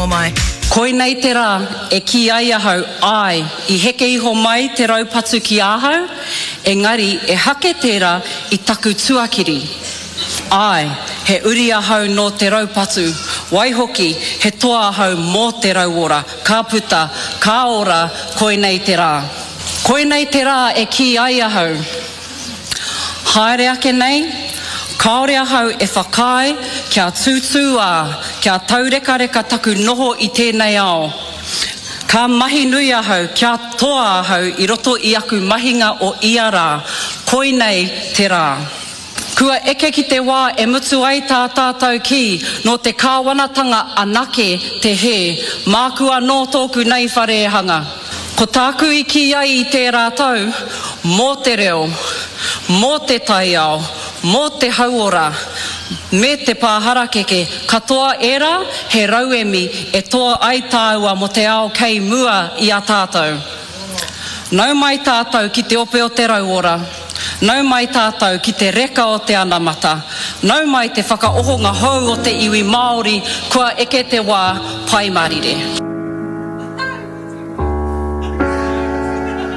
Rongomai. Koinei te rā e kī ai ahau, āe, i heke iho mai te raupatu ki ahau, engari ehake tērā i taku tuakiri. Āe, he uri ahau nō te raupatu, waihoki, he toa ahau mō te rauora, ka puta, ka ora, koinei te rā. Koinei te rā e kī ai ahau. Haere ake nei, kāore ahau e whakaae kia tūtūā, kia taurekareka taku noho i tēnei ao. Ka mahi nui ahau kia toa ahau i roto i aku mahinga o ia rā, koinei te rā. Kua eke ki te wā e mutu ai tā tātou kī, nō te kāwanatanga anake te hē, māku anō tōku nei whare e hanga. Ko tāku i kī ai i tērā tau, mō te reo, mō te taiao, mō te hauora, me te pā harakeke, katoa ērā he rauemi e toa ai tāua mō te ao kei mua i a tātou. Nau mai tātou ki te ope o te rauora, nau mai tātou ki te reka o te anamata, nau mai te whakaohonga hou o te iwi Māori kua eke te wā, Pai Mārire.